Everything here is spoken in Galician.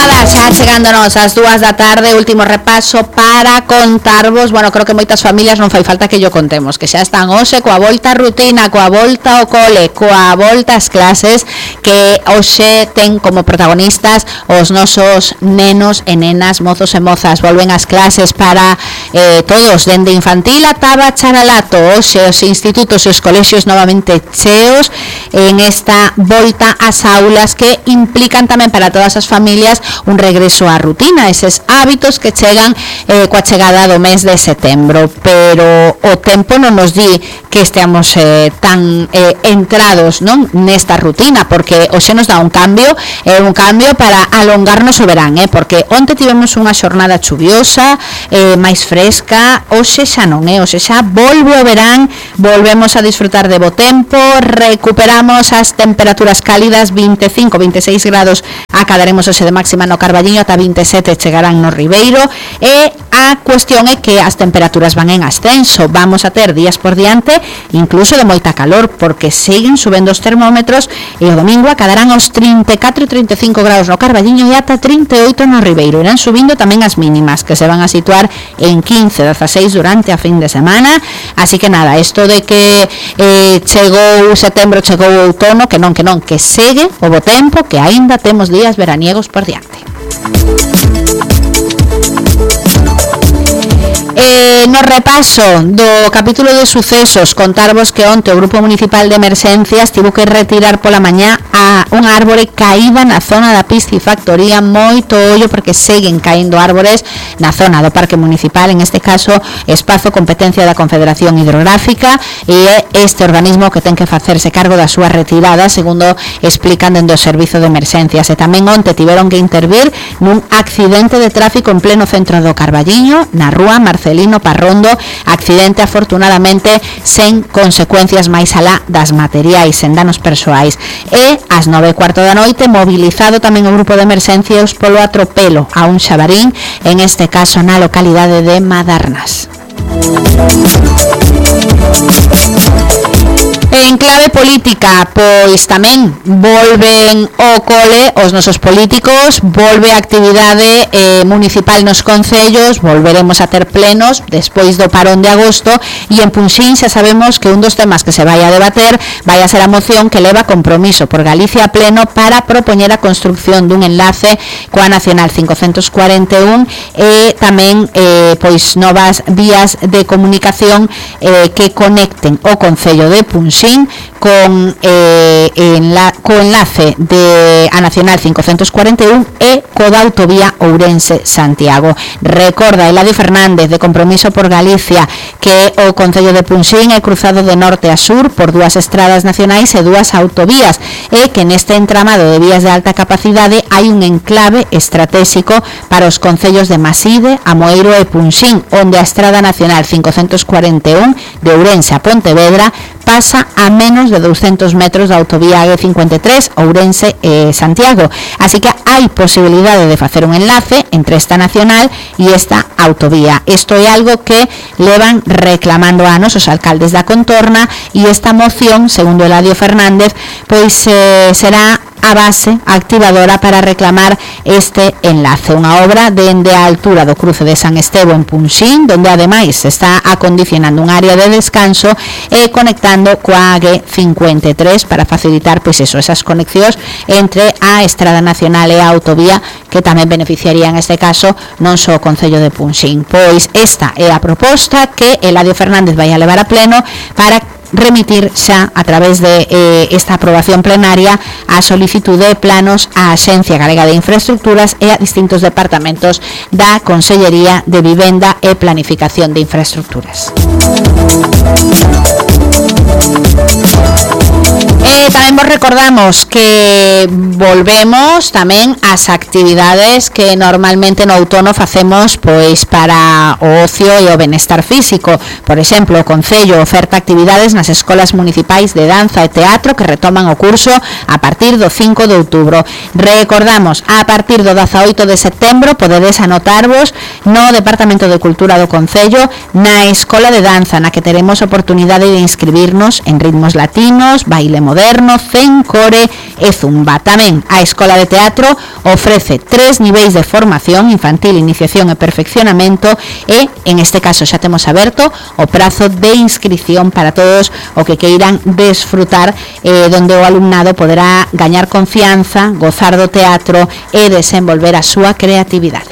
nada, xa chegándonos ás 2 da tarde, último repaso para contarvos. Bueno, creo que moitas familias non fai falta que yo contemos, que xa están hoxe coa volta á rutina, coa volta ao cole, coa volta ás clases, que hoxe ten como protagonistas os nosos nenos e nenas, mozos e mozas. Volven ás clases para todos, dende infantil ata bacharelato. Hoxe os institutos e os colexios novamente cheos en esta volta ás aulas, que implican tamén para todas as familias un regreso á rutina, eses hábitos que chegan coa chegada do mes de setembro. Pero o tempo non nos di que esteamos tan entrados, non, nesta rutina, porque hoxe nos dá un cambio para alongarnos o verán, porque onte tivemos unha xornada chuviosa, máis fresca. Hoxe xa non, hoxe xa volve o verán, volvemos a disfrutar de bo tempo, recuperamos as temperaturas cálidas, 25, 26 grados acadaremos hoxe de máxima no Carballiño, ata 27 chegarán no Ribeiro, e a cuestión é que as temperaturas van en ascenso. Vamos a ter días por diante incluso de moita calor, porque seguen subendo os termómetros, e o domingo acadarán os 34 e 35 grados no Carballiño e ata 38 no Ribeiro. Irán subindo tamén as mínimas, que se van a situar en 15, 16 durante a fin de semana. Así que nada, isto de que chegou setembro, chegou o outono, que non, que segue o bo tempo, que aínda temos días veraniegos por diante. No repaso do capítulo de sucesos, contarvos que onte o Grupo Municipal de Emerxencias tivo que retirar pola mañá a unha árbore caída na zona da piscifactoría. Moito ollo, porque seguen caendo árbores na zona do Parque Municipal, en este caso espazo competencia da Confederación Hidrográfica, e é este organismo que ten que facerse cargo da súa retirada, segundo explican dende o Servizo de Emerxencias. E tamén onte tiveron que intervir nun accidente de tráfico en pleno centro do Carballiño, na rúa Marcelino Parrondo, accidente afortunadamente sen consecuencias máis alá das materiais, sen danos persoais. E ás 9:15 da noite, mobilizado tamén o grupo de emerxencias polo atropelo a un xabarín, en este caso na localidade de Madarnas. En clave política, pois tamén volven o cole os nosos políticos, volve a actividade municipal nos concellos, volveremos a ter plenos despois do parón de agosto, e en Punxín xa sabemos que un dos temas que se vai a debater vai a ser a moción que leva Compromiso por Galicia a pleno para propoñer a construcción dun enlace coa Nacional 541 e tamén pois novas vías de comunicación que conecten o concello de Punxín con enlace de a Nacional 541 e coda autovía Ourense-Santiago. Recorda Eladio Fernández, de Compromiso por Galicia, que o concello de Punxín é cruzado de norte a sur por dúas estradas nacionais e dúas autovías, e que neste entramado de vías de alta capacidade hai un enclave estratégico para os concellos de Maside, Amoeiro e Punxín, onde a estrada nacional 541 de Ourense a Pontevedra pasa a menos de 200 metros da autovía A53 Ourense e Santiago. Así que hai posibilidade de facer un enlace entre esta nacional e esta autovía. Isto é algo que levan reclamando anos os alcaldes da contorna, e esta moción, segundo Eladio Fernández, pois será a base activadora para reclamar este enlace, unha obra dende a altura do cruce de San Estevo en Punxín, donde ademais se está acondicionando un área de descanso e conectando coa AG53 para facilitar pois eso, esas conexións entre a Estrada Nacional e a autovía, que tamén beneficiaría en este caso non só o concello de Punxín. Pois esta é a proposta que Eladio Fernández vai a levar a pleno para remitir xa a través de esta aprobación plenaria a solicitude de planos á Axencia Galega de Infraestructuras e a distintos departamentos da Consellería de Vivenda e Planificación de Infraestructuras. Tamén vos recordamos que volvemos tamén ás actividades que normalmente no outono facemos pois para o ocio e o benestar físico. Por exemplo, o Concello oferta actividades nas escolas municipais de danza e teatro que retoman o curso a partir do 5 de outubro. Recordamos, a partir do 18 de setembro podedes anotarvos no Departamento de Cultura do Concello na Escola de Danza, na que teremos oportunidade de inscribirnos en ritmos latinos, baile moderno, cencore e zumba. Tamén a Escola de Teatro ofrece 3 niveis de formación: infantil, iniciación e perfeccionamento, e en este caso xa temos aberto o prazo de inscripción para todos o que queiran desfrutar, donde o alumnado poderá gañar confianza, gozar do teatro e desenvolver a súa creatividade.